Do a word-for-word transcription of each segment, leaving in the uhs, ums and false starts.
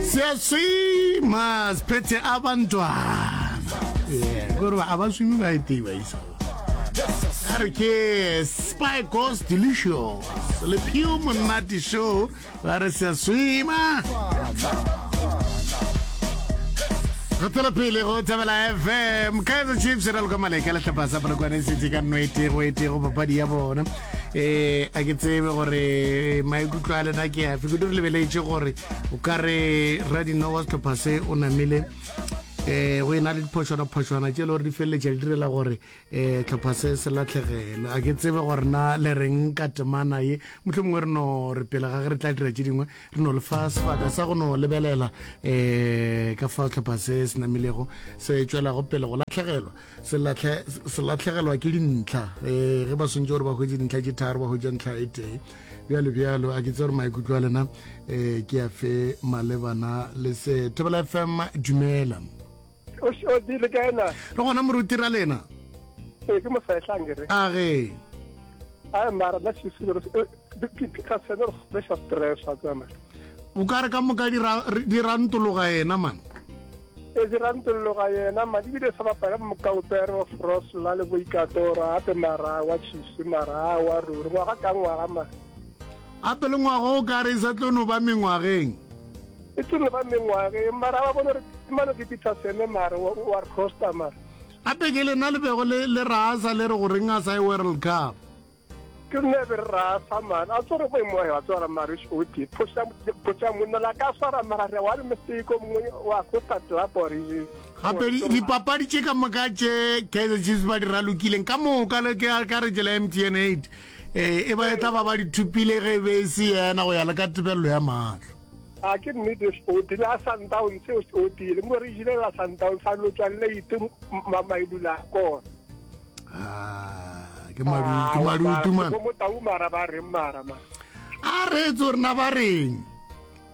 Siyaswima siphethe abantwana. Yeah, gore ba abaswimi ba etei ba isa. A re ke Spy Ghost Delicious. Le Pure Monate Show ba re siyaswima. Go tswela pele go Thobela FM. Kaizer Chiefs e raloka maleka le hlopha sa Polokwane City ka nno e tee go e tee go papadi ya bona. Eh a ke tsebe gore maikutlo a lena ke afe. Kudu re lebeletše gore o ka re radino wa sehlopha se o namile eh go ena le diphošwana-phošwana tše e le gore di feleletša di direla gore eh tlhopha se se latlhegelwe. A ke tsebe gore na le reng ka temana ye. Mohlomongwe re no re pele ga ge re tla dira tše dingwe re no le fa sebaka sa go no lebelela eh ka fa tlhopha se se namilego se tšwelago pele go latlhegelwa se latlhe se latlhegelwa ke dintlha eh ge ba swantše gore ba hwetše dintlha tše tharo ba hwetša ntlha e tee bjalo bjalo. A ke tse gore maikutlo a lena eh ke a fe malebana le se. Thobela F M, dumela. O o dile ka ena. Re gona moruti ra lena. Ee, ke mosehlang re. A ge. Ai mara nna Chiefs ka sene re sa stress wa tsama. O ka re ka moka di ra di rantologa yena man. E di rantologa yena ma di bile sa bapala mokaupere wa Frosla le boikatora ape mara wa Chiefs mara wa ruri ngwaga ka ngwaga ma. Ape le ngwaga o ka re e sa tlo no ba mengwageng. E tlo no ba mengwageng mara ba bone re mano ke Peterson mara wa wa re costa mara. Ape ke lena le bego le le rasa le re goreng a sa ye World Cup. Ke nne be re rasa man a tsore go mo wa tsora mara o ti phosha phosha monna la ka swara mara re wa le mistake o mongwe wa costa club or Gape dipapadi tše ka moka tše Kaizer Chiefs ba di ralokileng ka moka le ke ka re tšela M T N eight eh e ba e tla ba ba di thupile ge e be e se yena go ya le ka tebelelo ya mahlo. A ke nnete o tile a Sundowns o tile mo re jile la Sundowns a lo tswa late mailula kona. Ah, ke madutu madutu man. Mo tau mara ba reng mara ma. A re tso rena ba reng.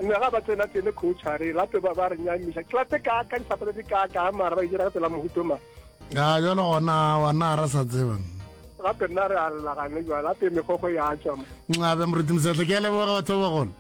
Nna ga ba tsena tsene coach a re lape ba ba re nyamiša klape ka ka disapata di ka ka mara ba ijira ka tsela mohuto ma. A jalo gona wana ra sa tseba. Gape nna re a llagane jwa lape megogo ya tswa mo. Ncabe moruti Mosehla, ke a leboga batho ba bagolo.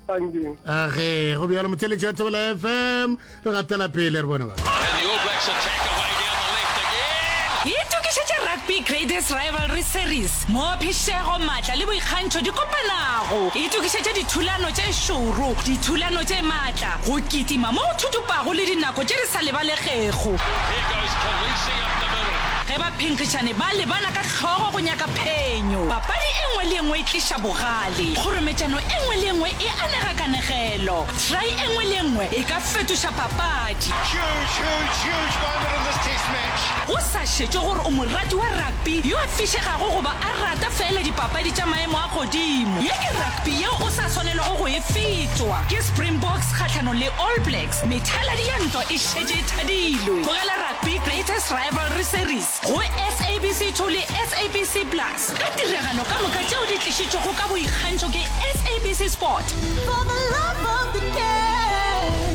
Thank you. Age go bjalo motheletši wa Thobela F M, re gatela pele re bone ba. And the All Blacks attack away down the left again. Itokišetše Rugby Greatest Rivalry Series, mo phišego, maatla le boikgantšho di kopanago. Itokišetše dithulano tše šoro, dithulano tše maatla, go kitima mo go thutupago le dinako tše di sa lebalegego. Here goes Kolisi up the middle. Ge baphenkgišani ba lebana ka hlogo go nyaka phenyo, papadi e nngwe le e nngwe e tliša bogale. Kgorometšano e nngwe le e nngwe e anega kanegelo. Try e nngwe le e nngwe e ka fetoša papadi. Huge, huge, huge moment in this test match. Go sa šetšwe gore o morati wa rugby yo a fišegago goba a rata feela dipapadi tša maemo a godimo, ye ke rugby yeo o sa swanelwago go e fetwa. Ke Springboks kgahlanong le All Blacks, methaladi ya ntwa e šetše e thadilwe. Bogela Rugby Greatest Rivalry Series go S A B C two le S A B C Plus ka tiragalo ka moka tšeo di tlišitšwego ka boikgantšho ke S A B C Sport. For the love of the game.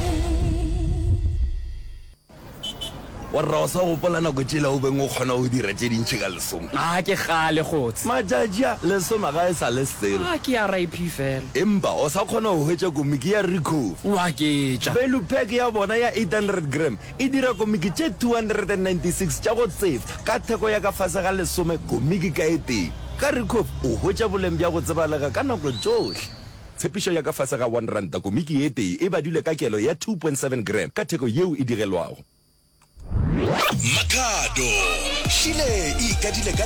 Warra o sa gopola nako tšela o beng o kgona go dira tše dintši ka lesome? A ke kgale kgotse. Matšatši a, lesome ga e sa le selo. A ke R I P fela. Empa o sa kgona go hwetša komiki ya Ricoh. O a ketša. Value pack ya bona ya eight hundred gram e dira komiki tše two hundred and ninety-six tša go tsefa ka theko ya ka fase ga lesome komiki ka e tee. Ka Ricoh o hwetša boleng bja go tsebalega ka nako tšohle. Tshepišo ya ka fase ga one ranta komiki e tee e badilwe ka kelo ya two point seven gram ka theko yeo e digelwago. Makhado šile e ikadile ka